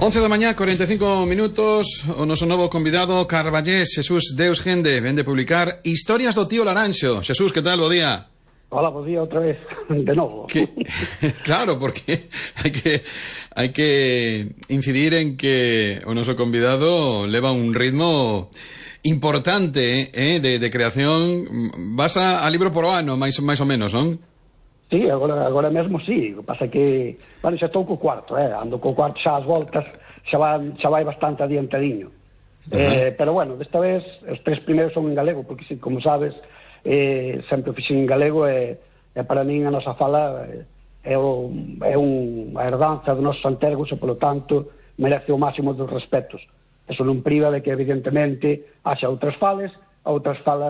11 da mañá, 45 minutos. O noso novo convidado, Carballés Xesús Deus Gende, vende publicar Historias do tío Laranxo. Xesús, que tal? Bo día. Hola, bo día outra vez, de novo. Claro, porque hai que incidir en que o noso convidado leva un ritmo importante de creación. Vas a libro por ano, máis ou menos, non? Sí, agora mesmo sí, o que pasa que, bueno, xa estou co cuarto, ando co cuarto xa as voltas, xa vai bastante adiantadiño. Pero bueno, desta vez, os tres primeiros son en galego, porque, como sabes, sempre fixen en galego, e para min a nosa fala é unha herdanza dos nosos antergos, e polo tanto merece o máximo dos respetos. Eso non priva de que, evidentemente, haxa outras falas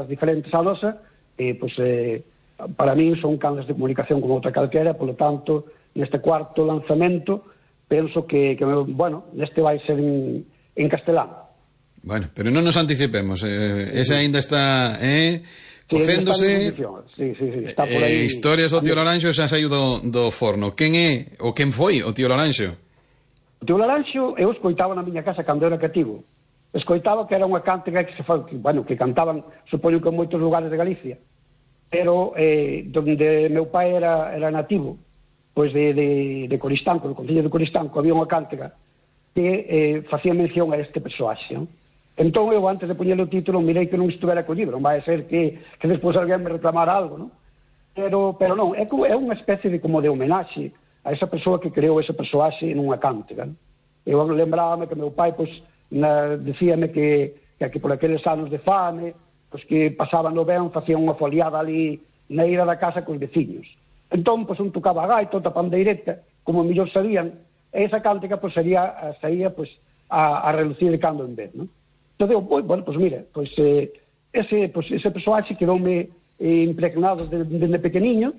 diferentes á nosa, e, pois, para min son canles de comunicación como outra calquera, polo tanto, neste cuarto lanzamento, penso que bueno, neste vai ser en castelán. Bueno, pero non nos anticipemos, ese aínda está cocéndose. Sí, está por aí. Historias do tío Laranxo xa saiu do forno. Quen é, ou quen foi o tío Laranxo? O tío Laranxo eu escoitaba na miña casa cando era cativo. Escoitaba que era unha cántiga que que cantaban, supoño que en moitos lugares de Galicia. Pero donde meu pai era nativo, pois de Coristanco, do concello de Coristanco, había unha cántiga que facía mención a este persoaxe. Entón eu, antes de poñer o título, mirei que non estivera co libro, non vai ser que despois alguén me reclamara algo, non? Pero non, é unha especie de como de homenaxe a esa persoa que creou ese persoaxe nunha cántiga. Eu lembrábame que meu pai, pois, dicíame que por aqueles anos de fame, pois que pasaban no ben, facían unha foliada ali na ira da casa cos veciños. Entón, pois, un tocaba a gaita, outra pandeireta, como mellor sabían, e esa cántica, pois, saía, pois, a relucir de cando en vez, non? Entón, bueno, pois, mira, pois, ese persoaxe quedoume impregnado desde pequeniño,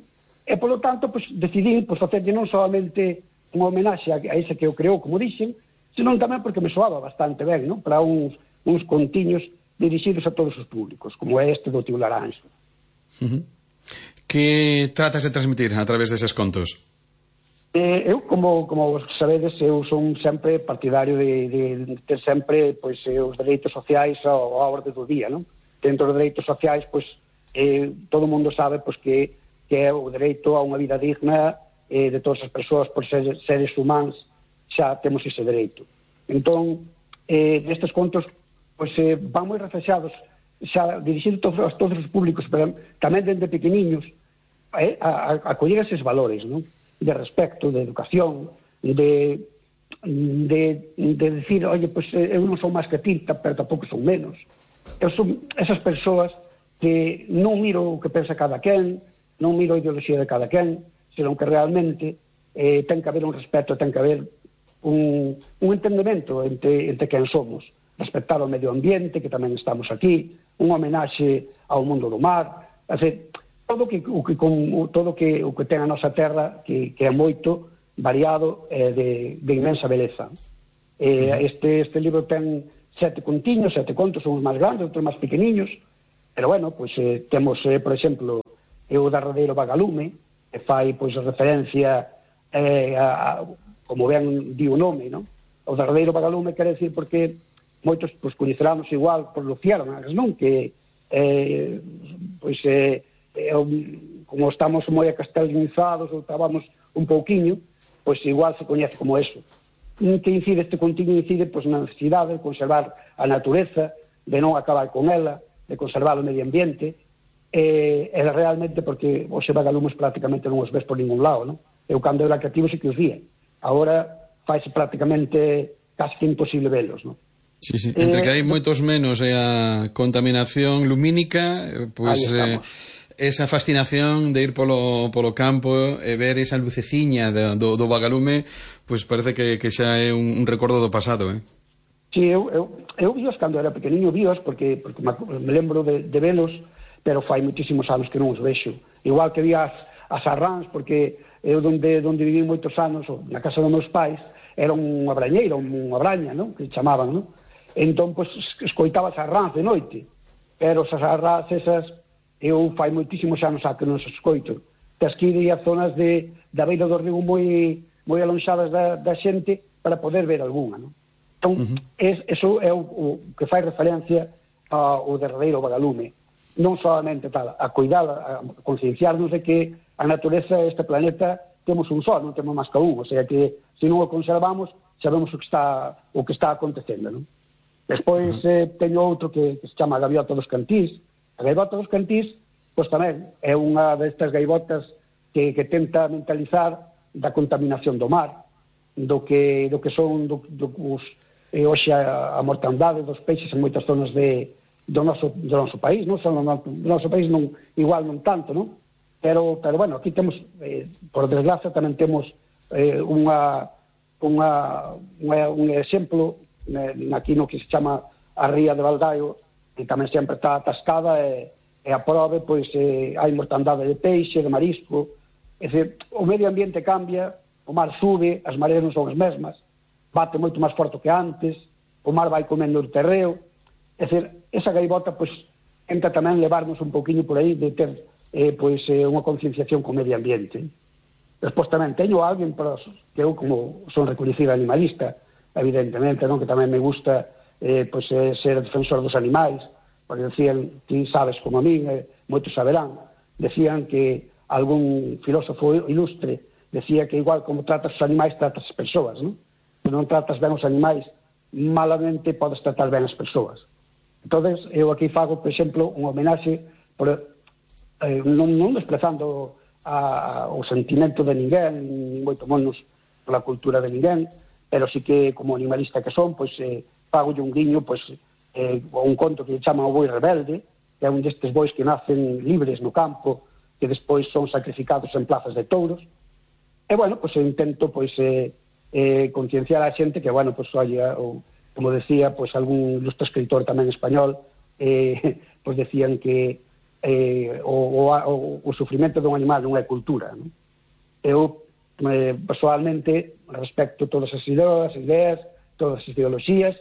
e, polo tanto, pois, decidí, pois, facerlle non solamente unha homenaxe a ese que o creou, como dixen, senón tamén porque me soaba bastante ben, non? Para uns contiños dirixidos a todos os públicos, como é este do tío Laranxo. Que tratas de transmitir a través deses contos? Eu, como sabedes, eu son sempre partidario de ter sempre, pois, os dereitos sociais á orde do día, non? Dentro dos dereitos sociais, pois, todo o mundo sabe, pois, que é o dereito a unha vida digna de todas as persoas, por seres humanos, xa temos ese dereito. Entón, nestes contos, pois, van moi reflexados, xa dirixidos a todos os públicos, pero tamén dende pequeniños, a coller eses valores, non? De respecto, de educación, de decir, oye, pois eu non son máis que ti, pero tampouco son menos. Eu son esas persoas que non miro o que pensa cada quen, non miro a ideoloxía de cada quen, senón que realmente ten que haber un respeto, ten que haber un entendemento entre quen somos. Respectar o medio ambiente, que tamén estamos aquí, un homenaxe ao mundo do mar, todo o que ten a nosa terra, que é moito variado, de inmensa beleza. Este libro ten 7 contiños, 7 contos, uns máis grandes, outros máis pequeniños, pero bueno, pois temos, por exemplo, o derradeiro vagalume, que fai, pois, referencia como ben di o nome, non? O derradeiro vagalume quere decir porque moitos, pois, coñeceramos igual por luciérnagas, non? Que pois como estamos moi acastelinizados ou estábamos un pouquiño, pois igual se coñece como eso. Que incide este contigo, incide, pois, na necesidade de conservar a natureza, de non acabar con ela, de conservar o medio ambiente, e realmente porque os vagalumes prácticamente non os ves por ningún lado, non? Eu cando era cativo sí que os vía, agora faise prácticamente casi que imposible velos, non? Sí. Entre que hai moitos menos e a contaminación lumínica, pois esa fascinación de ir polo campo e ver esa luceciña do vagalume, pois parece que xa é un recordo do pasado, Sí, eu víos cando era pequeniño, víos porque me lembro de velos, pero fai moitísimos anos que non os vexo. Igual que vi as arráns, porque eu donde viví moitos anos, na casa dos meus pais, era unha brañeira, unha braña, non? Que chamaban, non? Entón, pois, escoitaba as arráns de noite, pero esas arráns esas, eu fai moitísimos anos a que non se escoito. Tes que ir a zonas da beira do río moi moi alonxadas da xente para poder ver algunha, non? Entón, eso é o que fai referencia ao derradeiro vagalume. Non solamente tal, a cuidar, a concienciarnos de que a natureza, este planeta, temos un só, non temos máis que un, o sea que se non o conservamos, sabemos o que está acontecendo, non? Despois teño outro que se chama a gaviota dos cantís. A gaivota dos cantís, pois tamén é unha destas gaivotas que tenta mentalizar da contaminación do mar, do que son hoxe a mortandade dos peixes en moitas zonas do noso país, non? Do noso país igual non tanto, non? Pero bueno, aquí temos, por desgracia, tamén temos un exemplo aquí no que se chama a ría de Valdaio, que tamén sempre está atascada e a prove, pois, hai mortandade de peixe, de marisco. É dicir, o medio ambiente cambia, o mar sube, as mareas non son as mesmas, bate moito máis forte que antes, o mar vai comendo o terreo. É dicir, esa gaivota, pois, tenta tamén levarnos un pouquinho por aí de ter, pois, unha concienciación co medio ambiente. Despois tamén teño alguén que eu, como son recoñecida animalista, evidentemente, non, que tamén me gusta pois, ser defensor dos animais, porque decían, ti sabes como a min, moitos saberán, decían que algún filósofo ilustre decía que igual como tratas os animais, tratas as persoas, non? Se non tratas ben os animais, malamente podes tratar ben as persoas. Entón, eu aquí fago, por exemplo, unha homenaxe non desprezando o sentimento de ninguén, moito menos pola cultura de ninguén, pero sí que, como animalista que son, pois fago un guiño, pois, un conto que chaman o boi rebelde, que é un destes bois que nacen libres no campo, que despois son sacrificados en plazas de touros. E, bueno, pois intento, pois, concienciar a xente que, bueno, pois, oye, como decía, pois, algún ilustre escritor tamén español, pois decían que o sufrimento dun animal non é cultura, non? Eu, personalmente, respecto todas as ideas, todas as ideoloxías,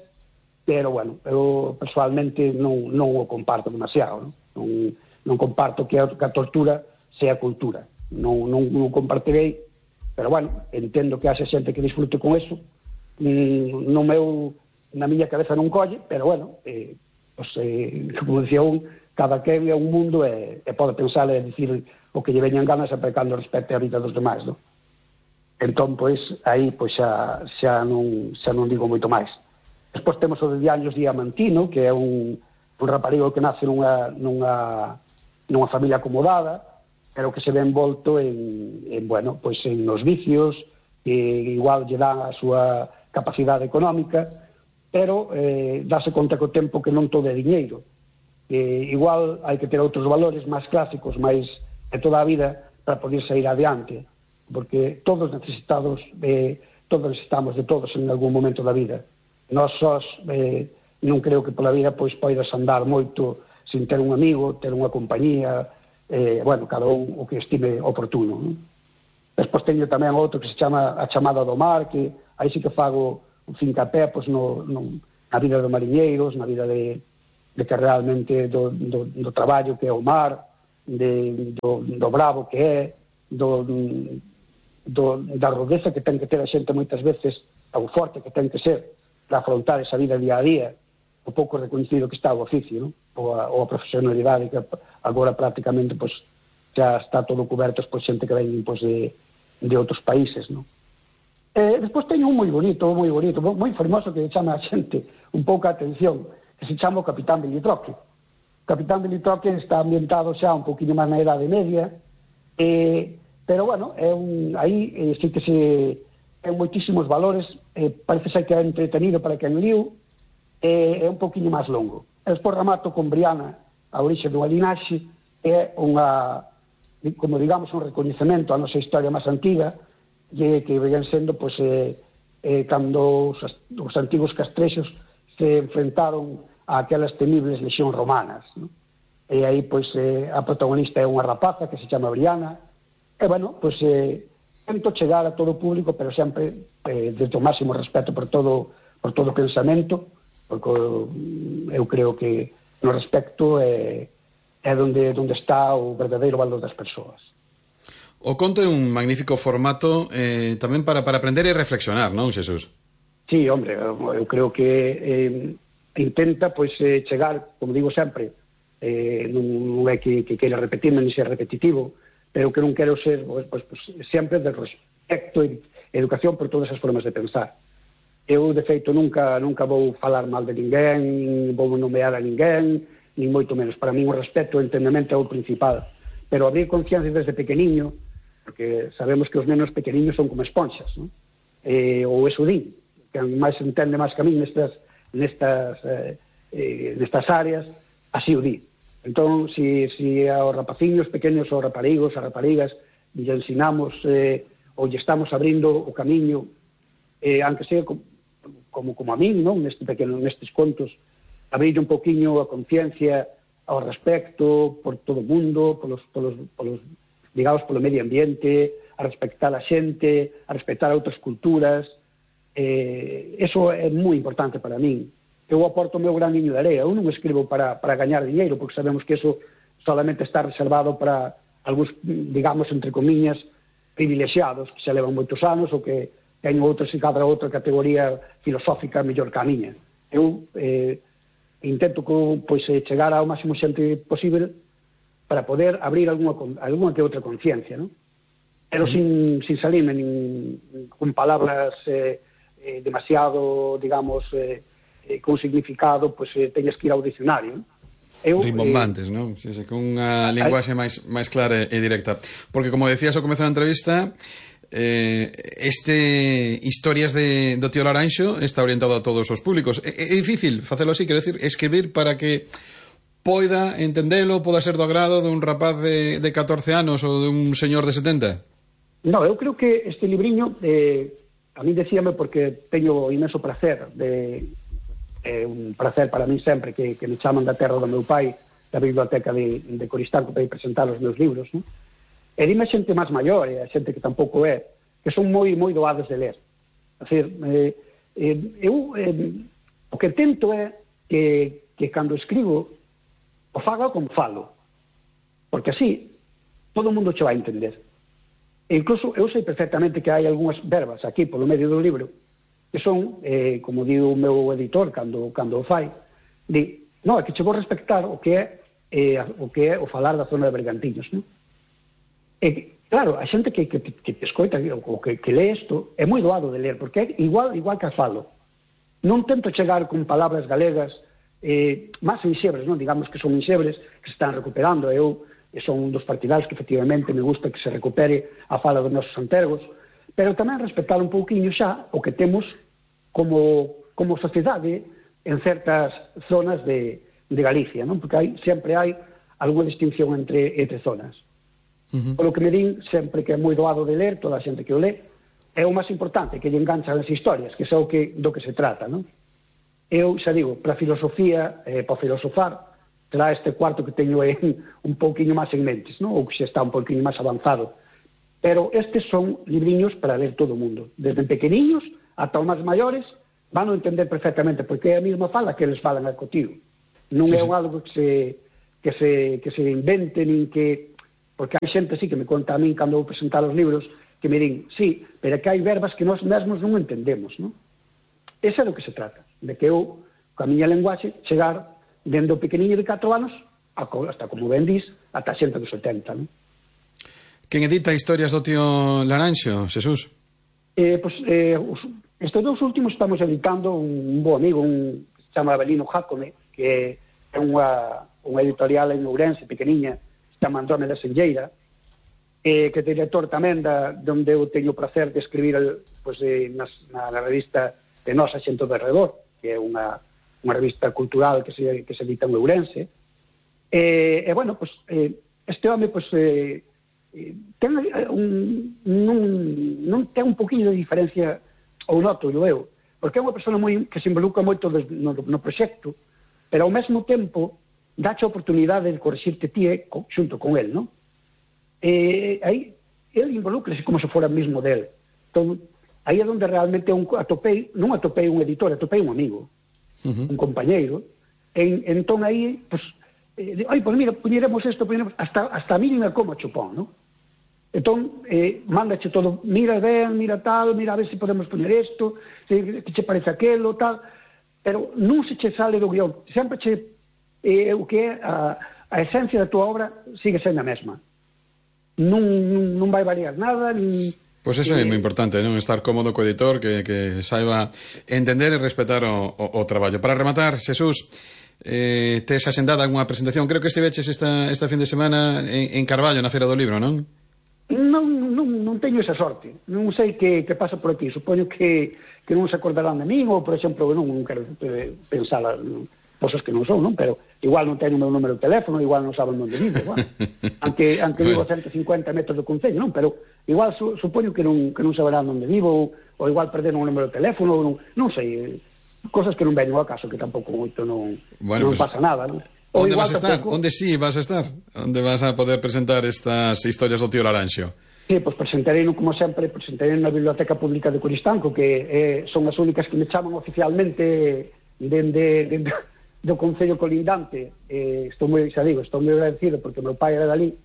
pero, bueno, eu personalmente non o comparto demasiado, non comparto que a tortura sea cultura, non compartirei, pero, bueno, entendo que haxe xente que disfrute con eso, na miña cabeza non colle, pero, bueno, como decía cada que é un mundo e pode pensar e dicir o que lle veñan ganas sempre cando respecte a vida dos demais, non? Entón, pois, aí pois xa non digo moito máis. Despois temos o de Diaños Diamantino, que é un raparigo que nace nunha familia acomodada, pero que se ve envolto bueno, pois en os vicios, que igual lle dan a súa capacidade económica, pero dáse conta co tempo que non todo é diñeiro. Igual hai que ter outros valores máis clásicos, máis de toda a vida, para poder sair adiante, porque todos necesitamos de todos en algún momento da vida. Nós sós non creo que pola vida pois poidas andar moito sin ter un amigo, ter unha compañía, bueno, cada un o que estime oportuno, non? Despois teño tamén outro que se chama A chamada do mar, que aí sí que fago un fincapé pois, na vida dos mariñeiros, na vida de que realmente do traballo que é o mar, do bravo que é, da rudeza que ten que ter a xente moitas veces, o forte que ten que ser para afrontar esa vida día a día, o pouco reconhecido que está o oficio, non? Ou a profesionalidade que agora prácticamente pois, xa está todo coberto por xente que ven pois, de outros países, non? Despois teño un moi bonito, moi fermoso, que chama a xente un pouco a atención, que se chama o Capitán Bilitroque. O Capitán Bilitroque está ambientado xa un poquinho máis na Idade Media, pero, bueno, aí sí que ten moitísimos valores, parece ser que é entretenido para quen liu, é un poquinho máis longo. Despois remato con Briana, a orixe dunha linaxe, é como digamos, un recoñecemento á nosa historia máis antiga, que ven sendo, pois, cando os antigos castrexos se enfrentaron a aquelas temibles lexións romanas, non? E aí, pois, a protagonista é unha rapaza que se chama Briana, e, bueno, pois, tento chegar a todo o público, pero sempre desde o máximo respeto por todo o pensamento, porque eu creo que no respecto é onde está o verdadeiro valor das persoas. O conto é un magnífico formato tamén para aprender e reflexionar, non, Xesús? Sí, hombre, eu creo que intenta pois chegar, como digo sempre, non é que queira repetirme ni ser repetitivo, pero que non quero ser pues, sempre de respecto e educación por todas as formas de pensar. Eu, de feito, nunca vou falar mal de ninguén, nin vou nomear a ninguén, nin moito menos. Para mí o respeto e o entendemento é o principal. Pero abrir conciencia desde pequeniño, porque sabemos que os nenos pequeniños son como esponxas, non? Ou eso din, que máis entende máis que a mí nestas áreas, así o di. Entón, si aos rapaciños pequenos, aos raparigos, as raparigas, lle ensinamos ou lle estamos abrindo o camiño, aunque sea como a min, non? Nestes contos, abrir un poquinho a conciencia ao respecto por todo o mundo, digamos, polo medio ambiente, a respectar a xente, a respectar outras culturas. Eso é moi importante para min. Eu aporto o meu graniño de area. Eu non escribo para gañar dinheiro, porque sabemos que eso solamente está reservado para algúns, digamos, entre comillas, privilexiados, que se levan moitos anos ou que teñen outras e cada outra categoría filosófica mellor que a miña. Eu intento chegar ao máximo xente posible para poder abrir alguna que outra conciencia, ¿no? Pero sin salirme con palabras demasiado, digamos, con significado, teñes que ir ao dicionario, ¿no? Rimbombantes, non? Sí, con unha linguaxe máis clara e directa. Porque, como decías ao comezo da entrevista, historias do tío Laranxo está orientado a todos os públicos. É difícil facelo así, quero decir, escribir para que poida entendelo, poda ser do agrado dun rapaz de 14 anos ou dun señor de 70? No, eu creo que este libriño a mí decíame porque teño imenso prazer un prazer para mí sempre que me chaman da terra do meu pai, da biblioteca de Coristanco, para ir presentar os meus libros, non? E dime a xente máis maior, e a xente que tampouco que son moi doados de ler. É dicir, eu o que tento é que cando escribo o faga como falo, porque así todo o mundo che vai entender. E incluso eu sei perfectamente que hai algunhas verbas aquí polo medio do libro que son, como di o meu editor cando o fai, di, non, é que che vou respectar o que é o falar da zona de Bergantiños, non? E claro, a xente que escoita ou que lee isto é moi doado de ler, porque é igual que a falo. Non tento chegar con palabras galegas máis enxebres, non? Digamos que son enxebres que se están recuperando. Eu son un dos partidarios que efectivamente me gusta que se recupere a fala dos nosos antergos, pero tamén respetar un pouquiño xa o que temos como sociedade en certas zonas de Galicia, non? Porque sempre hai algunha distinción entre zonas. Polo que me din, sempre que é moi doado de ler, toda a xente que o lé, é o máis importante, que lle enganchan as historias, que é do que se trata, non? Eu xa digo, para a filosofía, para filosofar, será este cuarto que teño un pouquiño máis en mentes, non? Ou que xa está un pouquiño máis avanzado. Pero estes son libriños para ler todo o mundo. Desde pequeniños ata os máis maiores van a entender perfectamente, porque é a mesma fala que eles falan al cotigo. Non é algo que se invente, nin que... Porque hai xente así que me conta a min cando vou presentar os libros, que me din, sí, pero que hai verbas que nós mesmos non entendemos, non? Ese é do que se trata, de que eu, coa miña lenguaxe, chegar dende o pequeniño de 4 anos hasta, como ben dis, ata xente dos 70, non? Quen edita historias do tío Laranxo, Xesús? Estes dous últimos estamos editando un bo amigo, que se chama Abelino Jácome, que é unha editorial en Ourense, pequeniña, que se chama Andrómeda Senlleira, que é director tamén onde eu teño o placer de escribir na revista de Nosa Xente do Redor, que é unha revista cultural que se edita en Ourense. Bueno, este home, non ten un poquinho de diferencia, ou noto eu, porque é unha persona que se involucra moito no proxecto, pero ao mesmo tempo dache a oportunidade de corrixirte ti xunto con el, non? Aí el involúcrase como se fora mesmo del. Entón, aí é onde realmente non atopei un editor, atopei un amigo, un compañeiro. Entón aí, mira, puñeremos isto, hasta a mínima como chupón, non? Entón, mándache todo, mira ben, mira tal, mira a ver se podemos poner isto, que che parece aquelo, tal, pero non se che sale do guión, sempre che, o que é a esencia da tua obra sigue sendo a mesma. Non vai variar nada, Pois eso é moi importante, non? Estar cómodo co editor, que saiba entender e respetar o traballo. Para rematar, Xesús, tes asendada algunha presentación? Creo que estiveches esta fin de semana en Carballo, na Feira do Libro, non? Non teño esa sorte. Non sei que pasa por aquí. Supoño que non se acordarán de min, ou, por exemplo, non quero pensar cosas que non son, non? Pero igual non teño o meu número de teléfono, igual non saben onde vivo, bueno. aunque vivo a 150 metros do concello, non? Pero igual supoño que non saberán onde vivo, ou igual perderon o número de teléfono, non sei, cosas que non veño ao caso, que tampouco moito non pasa nada, non? Onde vas a estar? Onde sí vas a estar? Onde vas a poder presentar estas historias do tío Laranxo? Sí, pois presentarei, como sempre, presentarei na Biblioteca Pública de Coristanco, que son as únicas que me chaman oficialmente do Concello colindante. Estou moi agradecido, porque o meu pai era dali,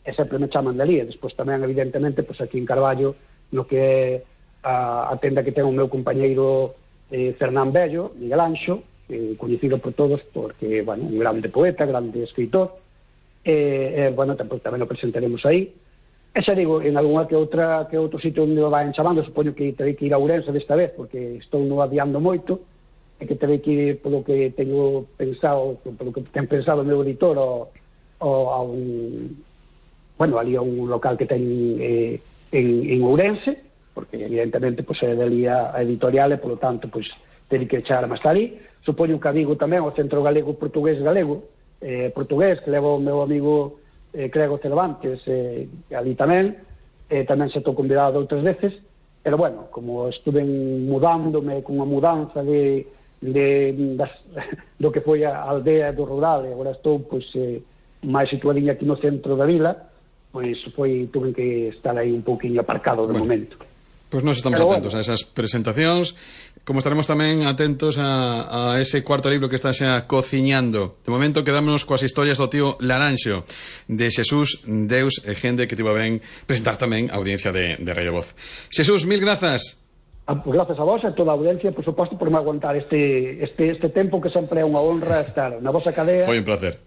e sempre me chaman dali, e despois tamén, evidentemente, pois aquí en Carballo, no que é a tenda que ten o meu compañeiro Fernán Bello, Miguel Anxo, coñecido por todos, porque, bueno, un grande poeta, grande escritor, bueno, tamén o presentaremos aí. E xa digo, en algunha que outro sitio onde o vayan chamando, supoño que terei que ir a Ourense desta vez, porque estou no adiando moito, e que terei que ir polo que teño pensado, polo que ten pensado o meu editor, a un, bueno, ali a un local que ten en Ourense, porque evidentemente pois é dali a editorial, e polo tanto pois terei que echar máis ali. Supoño que a Vigo tamén, o Centro Galego Portugués portugués, que leva o meu amigo Crego Cervantes, ali tamén se estou convidado outras veces, pero bueno, como estuve mudándome con a mudanza do que foi a aldea do rural, e agora estou pois máis situadinha aquí no centro da vila, pois tuve que estar aí un pouquinho aparcado de momento. Pois nós estamos atentos a esas presentacións, como estaremos tamén atentos a ese cuarto libro que está xa cociñando. De momento quedámonos coas historias do tío Laranxo, de Xesús Deus e Gende, que tivo ben presentar tamén a audiencia de Radio Voz. Xesús, mil grazas. Pues gracias a vos e a toda a audiencia, por suposto, por me aguantar este tempo, que sempre é unha honra estar na vosa cadea. Foi un placer.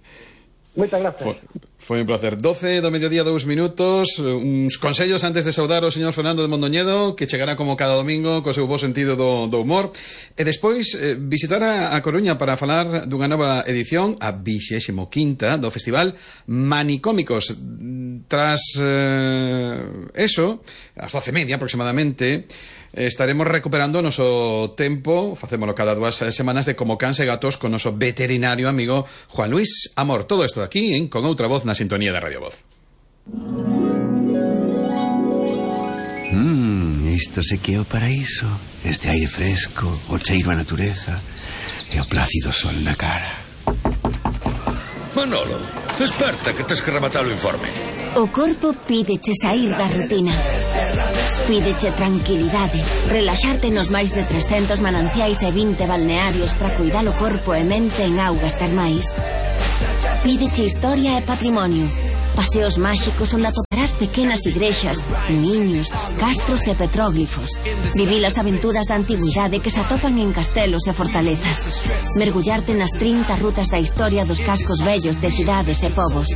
Moitas gracias. Foi un placer. 12 do mediodía, 2 minutos. Uns consellos antes de saudar o señor Fernando de Mondoñedo, que chegará como cada domingo co seu bo sentido do humor. E despois visitar a Coruña para falar dunha nova edición, a 25ª do Festival Manicómicos. Tras eso, ás 12:30 aproximadamente, estaremos recuperando o noso tempo, facémolo cada 2 semanas, de Como Cans e Gatos con noso veterinario amigo Juan Luis Amor. Todo isto aquí en Con Outra Voz na sintonía de Radio Voz. Isto se que é o paraíso. Este aire fresco, o cheiro a natureza e o plácido sol na cara. Manolo, desperta, que tes que rematar o informe. O corpo pídeche sair da rutina. Pídeche tranquilidade, relaxarte nos máis de 300 mananciais e 20 balnearios para cuidar o corpo e mente en augas termais. Pídeche historia e patrimonio, paseos máxicos onde atoparás pequenas igrexas, muiños, castros e petróglifos. Vivir as aventuras da antigüidade que se atopan en castelos e fortalezas. Mergullarte nas 30 rutas da historia dos cascos vellos de cidades e povos.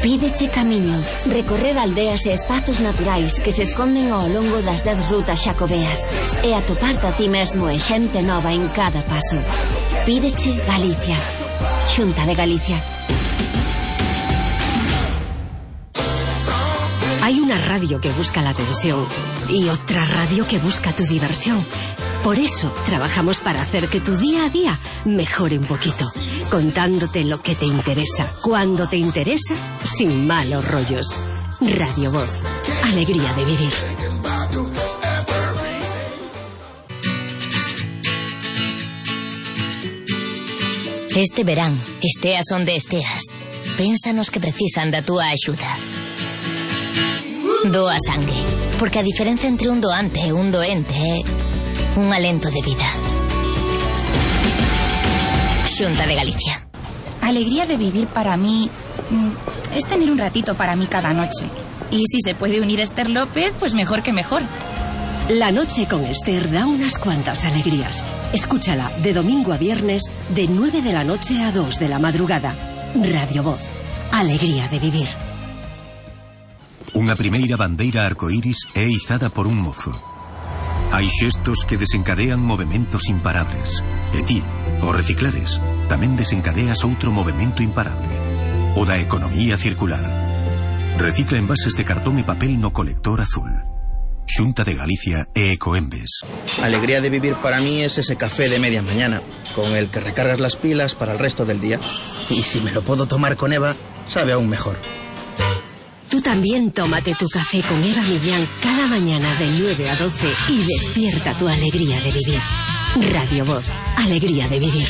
Pídeche camiño, recorrer aldeas e espazos naturais que se esconden ao longo das 10 rutas xacobeas e atoparte a ti mesmo e xente nova en cada paso. Pídeche Galicia. Xunta de Galicia. Hay una radio que busca la atención y otra radio que busca tu diversión. Por eso trabajamos para hacer que tu día a día mejore un poquito, contándote lo que te interesa, cuando te interesa, sin malos rollos. Radio Voz, alegría de vivir. Este verán, esteas onde esteas, pénsanos que precisan da túa axuda. Doa sangue, porque a diferencia entre un doante e un doente é un alento de vida. Xunta de Galicia. Alegría de vivir para mí es tener un ratito para mí cada noche. Y si se puede unir Esther López, pues mejor que mejor. La noche con Esther da unas cuantas alegrías. Escúchala de domingo a viernes, de 9 de la noche a 2 de la madrugada. Radio Voz. Alegría de vivir. Unha primeira bandeira arcoíris é izada por un mozo. Hai xestos que desencadean movementos imparables. E ti, ao reciclares, tamén desencadeas outro movemento imparable. O da economía circular. Recicla envases de cartón e papel no colector azul. Xunta de Galicia e Ecoembes. Alegría de vivir para mí es ese café de media mañana, con el que recargas las pilas para el resto del día. Y si me lo puedo tomar con Eva, sabe aún mejor. Tú también tómate tu café con Eva Millán cada mañana de 9 a 12 y despierta tu alegría de vivir. Radio Voz, alegría de vivir.